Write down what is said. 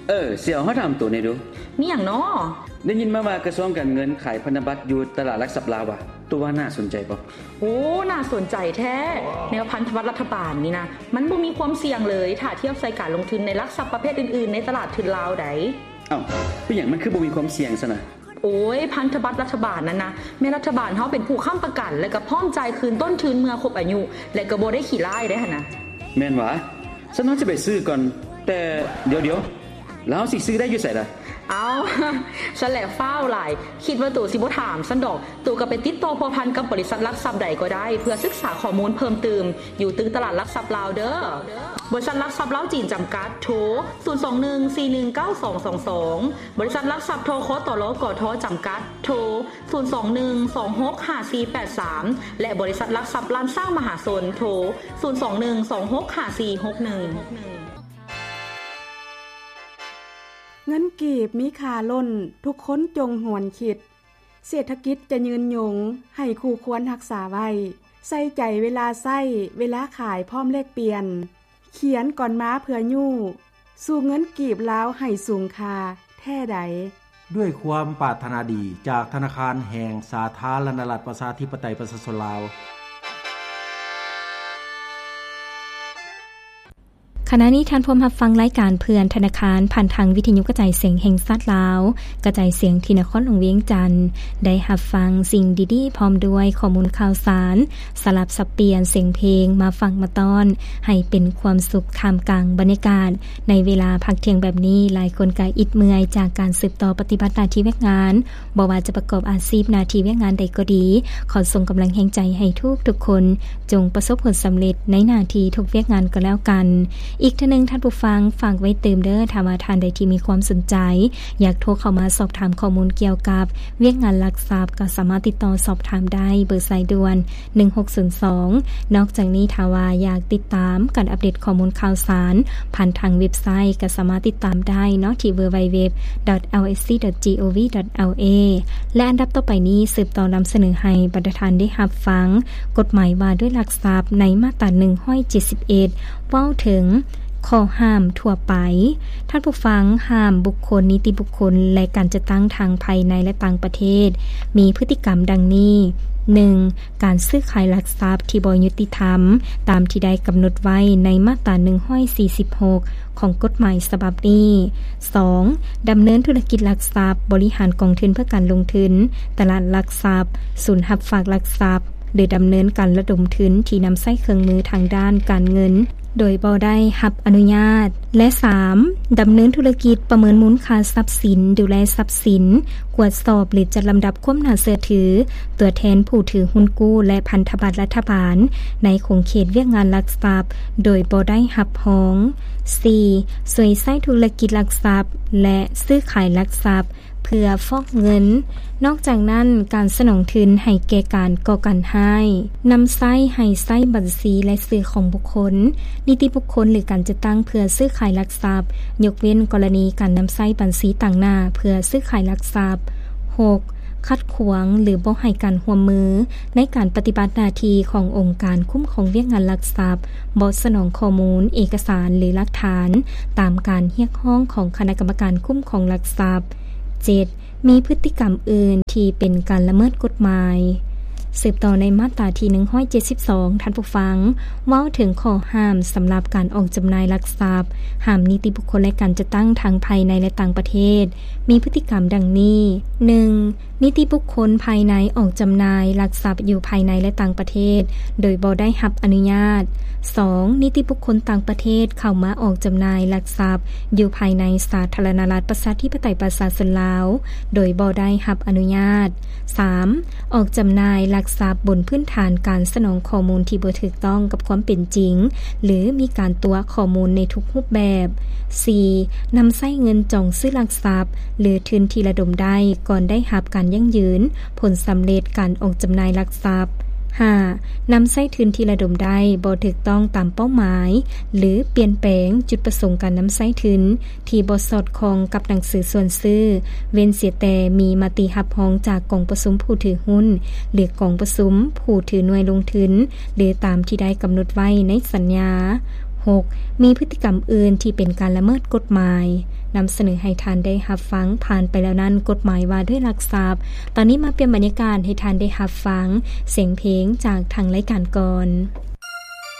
ເອີ ຊິເອົາ ເຮົາຖາມໂຕແດ່ດູ. ມີຫຍັງນໍ? ໄດ້ຍິນມາວ່າກະຊວງການເງິນຂາຍພັນທະບັດຢູ່ຕະຫຼາດຫຼັກຊັບລາວວ່າ ໂຕວ່າໜ້າສົນໃຈບໍ່? ໂອ້ ໜ້າສົນໃຈແທ້. ແນວພັນທະບັດລັດຖະບານນີ້ນະ ມັນບໍ່ມີຄວາມສ່ຽງເລີຍ ຖ້າທຽບໃສ່ການລົງທຶນໃນຫຼັກຊັບປະເພດອື່ນໆ ໃນຕະຫຼາດທຶນລາວໃດ໋. ເອົ້າ ເປັນຫຍັງມັນຄືບໍ່ມີຄວາມສ່ຽງຊັ້ນນະ? ໂອ້ຍ ພັນທະບັດລັດຖະບານນັ້ນນະ ແມ່ນລັດຖະບານເຮົາເປັນຜູ້ຄ້ຳປະກັນ ແລະກະພ້ອມຈ່າຍຄືນຕົ້ນທຶນເມື່ອຄົບອາຍຸ ແລະກະບໍ່ໄດ້ຂີ້ລ້າຍໄດ໋ຫັ້ນນະ. ແມ່ນຫວາ? ຊັ້ນເຮົາຈະໄປຊື້ກ່ອນ. ແຕ່ດຽວໆ ແລ້ວເຮົາຊິຊື້ໄດ້ຢູ່ໃສລະ? ເອົ້າ ຊັ້ນແຫຼະຟ້າວຫຼາຍ ຄິດວ່າໂຕຊິບໍ່ຖາມຊັ້ນດອກ. ໂຕກະໄປຕິດຕໍ່ພົວພັນກັບບໍລິສັດຫຼັກຊັບໃດກໍໄດ້ ເພື່ອສຶກສາຂໍ້ມູນເພີ່ມຕື່ມ ຢູ່ຕຶກຕະຫຼາດຫຼັກຊັບລາວເດີ້. ບໍລິສັດຫຼັກຊັບລາວຈີນຈຳກັດ ໂທ ສູນສອງໜຶ່ງສີ່ໜຶ່ງເກົ້າສອງສອງສອງ. ບໍລິສັດຫຼັກຊັບ ທຄຕລ ກທ ຈຳກັດ ໂທ ສູນສອງໜຶ່ງສອງຫົກຫ້າສີ່ແປດສາມ ແລະ ບໍລິສັດຫຼັກຊັບລ້ານຊ້າງມະຫາຊົນ ໂທ ສູນສອງໜຶ່ງສອງຫົກຫ້າສີ່ຫົກໜຶ່ງ. ເງິນກີບມີຄ່າລົ້ນ ທຸກຄົນຈົ່ງຫວນຄິດ. ເສດຖະກິດຈະຍືນຍົງ ໃຫ້ຄູ່ຄວນຮັກສາໄວ້. ໃສ່ໃຈເວລາໃຊ້ ເວລາຂາຍພ້ອມແລກປ່ຽນ. ຂຽນກ່ອນມາເພື່ອຍູ້ ສູ່ເງິນກີບລາວໃຫ້ສູງຄ່າແທ້ໃດ. ດ້ວຍຄວາມປາດຖະໜາດີ ຈາກທະນາຄານແຫ່ງສາທາລະນະລັດ ປະຊາທິປະໄຕ ປະຊາຊົນລາວ. ຂະນະນີ້ທ່ານພວມຮັບຟັງລາຍການເພື່ອນທະນາຄານ ຜ່ານທາງວິທະຍຸກະຈາຍສຽງແຫ່ງຊາດລາວ, ກະຈາຍສຽງທີ່ນະຄອນຫຼວງວຽງຈັນ. ໄດ້ຮັບຟັງສິ່ງດີໆ ພ້ອມດ້ວຍຂໍ້ມູນຂ່າວສານ, ສະຫຼັບສັບປ່ຽນສຽງເພງມາຝາກມາຕ້ອນ ໃຫ້ເປັນຄວາມສຸກທ່າມກາງບັນຍາກາດ. ໃນເວລາພັກທ່ຽງແບບນີ້, ຫຼາຍຄົນກະອິດເມື່ອຍຈາກການສືບຕໍ່ປະຕິບັດໜ້າທີ່ວຽກງານ, ບໍ່ວ່າຈະປະກອບອາຊີບໜ້າທີ່ວຽກງານໃດກໍດີ, ຂໍສົ່ງກຳລັງແຮງໃຈໃຫ້ທຸກໆຄົນ ຈົ່ງປະສົບຜົນສຳເລັດໃນໜ້າທີ່ທຸກວຽກງານກໍແລ້ວກັນ. ອີກເທື່ອໜຶ່ງທ່ານຜູ້ຟັງ, ຝາກໄວ້ຕື່ມເດີ້, ຖ້າວ່າທ່ານໃດທີ່ມີຄວາມສົນໃຈ ຢາກໂທເຂົ້າມາສອບຖາມຂໍ້ມູນກ່ຽວກັບວຽກງານຫຼັກຊັບ, ກໍສາມາດຕິດຕໍ່ສອບຖາມໄດ້ ເບີສາຍດ່ວນ ໜຶ່ງຫົກສູນສອງ. ນອກຈາກນີ້, ຖ້າວ່າຢາກຕິດຕາມການອັບເດດຂໍ້ມູນຂ່າວສານ ຜ່ານທາງເວັບໄຊ ກໍສາມາດຕິດຕາມໄດ້ເນາະ ທີ່ www.lsc.gov.la. ແລະ ອັນດັບຕໍ່ໄປນີ້ ສືບຕໍ່ນຳສະເໜີໃຫ້ບັນດາທ່ານໄດ້ຮັບຟັງ ກົດໝາຍວ່າດ້ວຍຫຼັກຊັບ ໃນມາດຕາໜຶ່ງຮ້ອຍເຈັດສິບເອັດ ເວົ້າເຖິງຂໍ້ຫ້າມທົ່ວໄປ. ທ່ານຜູ້ຟັງ, ຫ້າມບຸກຄົນ, ນິຕິບຸກຄົນ ແລະ ການຈັດຕັ້ງທັງພາຍໃນ ແລະ ຕ່າງປະເທດ ມີພຶດຕິກຳດັ່ງນີ້: ໜຶ່ງ ການຊື້ຂາຍຫຼັກຊັບທີ່ບໍ່ຍຸຕິທຳ ຕາມທີ່ໄດ້ກຳນົດໄວ້ໃນມາດຕາໜຶ່ງຮ້ອຍສີ່ສິບຫົກ ຂອງກົດໝາຍສະບັບນີ້. ສອງ ດຳເນີນທຸລະກິດຫຼັກຊັບ, ບໍລິຫານກອງທຶນເພື່ອການລົງທຶນ, ຕະຫຼາດຫຼັກຊັບ, ສູນຮັບຝາກຫຼັກຊັບ ຫຼື ດຳເນີນການລະດົມທຶນທີ່ນຳໃຊ້ເຄື່ອງມືທາງດ້ານການເງິນ ໂດຍບໍ່ໄດ້ຮັບອະນຸຍາດ. ແລະ ສາມ ດຳເນີນທຸລະກິດ, ປະເມີນມູນຄ່າຊັບສິນ, ດູແລຊັບສິນ, ກວດສອບ ຫຼື ຈັດລຳດັບຄວາມໜ້າເຊື່ອຖືຕົວແທນຜູ້ຖືຮຸ້ນກູ້ ແລະ ພັນທະບັດລັດຖະບານ ໃນຂົງເຂດວຽກງານຫຼັກຊັບ ໂດຍບໍ່ໄດ້ຮັບຮອງ. ສີ່ ຊ່ວຍໃຊ້ທຸລະກິດຫຼັກຊັບ ແລະ ຊື້ຂາຍຫຼັກຊັບ ເພື່ອຟອກເງິນ. ນອກຈາກນັ້ນ, ການສະໜອງທຶນໃຫ້ແກ່ການກໍ່ການຮ້າຍ, ນຳໃຊ້ໃຫ້ໃຊ້ບັນຊີລາຍຊື່ຂອງບຸກຄົນ, ນິຕິບຸກຄົນ ຫຼື ການຈັດຕັ້ງເພື່ອຊື້ຂາຍຫຼັກຊັບ, ຍົກເວັ້ນກໍລະນີການນຳໃຊ້ບັນຊີຕາງໜ້າເພື່ອຊື້ຂາຍຫຼັກຊັບ. ຫົກ ຂັດຂວາງ ຫຼື ບໍ່ໃຫ້ການຮ່ວມມືໃນການປະຕິບັດໜ້າທີ່ຂອງອົງການຄຸ້ມຄອງວຽກງານຫຼັກຊັບ ບໍ່ສະໜອງຂໍ້ມູນ, ເອກະສານ ຫຼື ຫຼັກຖານ ຕາມການຮຽກຮ້ອງຂອງຄະນະກຳມະການຄຸ້ມຄອງຫຼັກຊັບ. ເຈັດ ມີພຶດຕິກຳອື່ນທີ່ເປັນການລະເມີດກົດໝາຍ. ສືບຕໍ່ໃນມາດຕາທີໜຶ່ງຮ້ອຍເຈັດສິບສອງ ທ່ານຜູ້ຟັງ, ເວົ້າເຖິງຂໍ້ຫ້າມສຳລັບການອອກຈຳໜ່າຍຫຼັກຊັບ, ຫ້າມນິຕິບຸກຄົນ ແລະ ການຈັດຕັ້ງທັງພາຍໃນ ແລະ ຕ່າງປະເທດ ມີພຶດຕິກຳດັ່ງນີ້: ໜຶ່ງ ນິຕິບຸກຄົນພາຍໃນອອກຈຳໜ່າຍຫຼັກຊັບຢູ່ພາຍໃນ ແລະ ຕ່າງປະເທດ ໂດຍບໍ່ໄດ້ຮັບອະນຸຍາດ. ສອງ ນິຕິບຸກຄົນຕ່າງປະເທດເຂົ້າມາອອກຈຳໜ່າຍຫຼັກຊັບຢູ່ພາຍໃນສາທາລະນະລັດ ປະຊາທິປະໄຕ ປະຊາຊົນລາວ ໂດຍບໍ່ໄດ້ຮັບອະນຸຍາດ. ສາມ ອອກຈຳໜ່າຍຫຼັກຊັບບົນພື້ນຖານການສະໜອງຂໍ້ມູນທີ່ບໍ່ຖືກຕ້ອງກັບຄວາມເປັນຈິງ ຫຼື ມີການຕົວະຂໍ້ມູນໃນທຸກຮູບແບບ. ສີ່ ນຳໃຊ້ເງິນຈອງຊື້ຫຼັກຊັບ ຫຼື ທຶນທີ່ລະດົມໄດ້ກ່ອນໄດ້ຮັບການຢັ້ງຢືນຜົນສຳເລັດການອອກຈຳໜ່າຍຫຼັກຊັບ. ຫ້າ ນຳໃຊ້ທຶນທີ່ລະດົມໄດ້ບໍ່ຖືກຕ້ອງຕາມເປົ້າໝາຍ ຫຼື ປ່ຽນແປງຈຸດປະສົງການນຳໃຊ້ທຶນ ທີ່ບໍ່ສອດຄ່ອງກັບໜັງສືຊວນຊື້, ເວັ້ນເສຍແຕ່ມີມະຕິຮັບຮອງຈາກກອງປະຊຸມຜູ້ຖືຮຸ້ນ ຫຼື ກອງປະຊຸມຜູ້ຖືໜ່ວຍລົງທຶນ ຫຼື ຕາມທີ່ໄດ້ກຳນົດໄວ້ໃນສັນຍາ. ຫົກ ມີພຶດຕິກຳອື່ນທີ່ເປັນການລະເມີດກົດໝາຍ. ນຳສະເໜີໃຫ້ທ່ານໄດ້ຮັບຟັງ ຜ່ານໄປແລ້ວນັ້ນ ກົດໝາຍວ່າດ້ວຍລັກຊັບ. ຕອນນີ້ມາປ່ຽນບັນຍາກາດໃຫ້ທ່ານໄດ້ຮັບຟັງສຽງເພງຈາກທາງລາຍການກ່ອນ.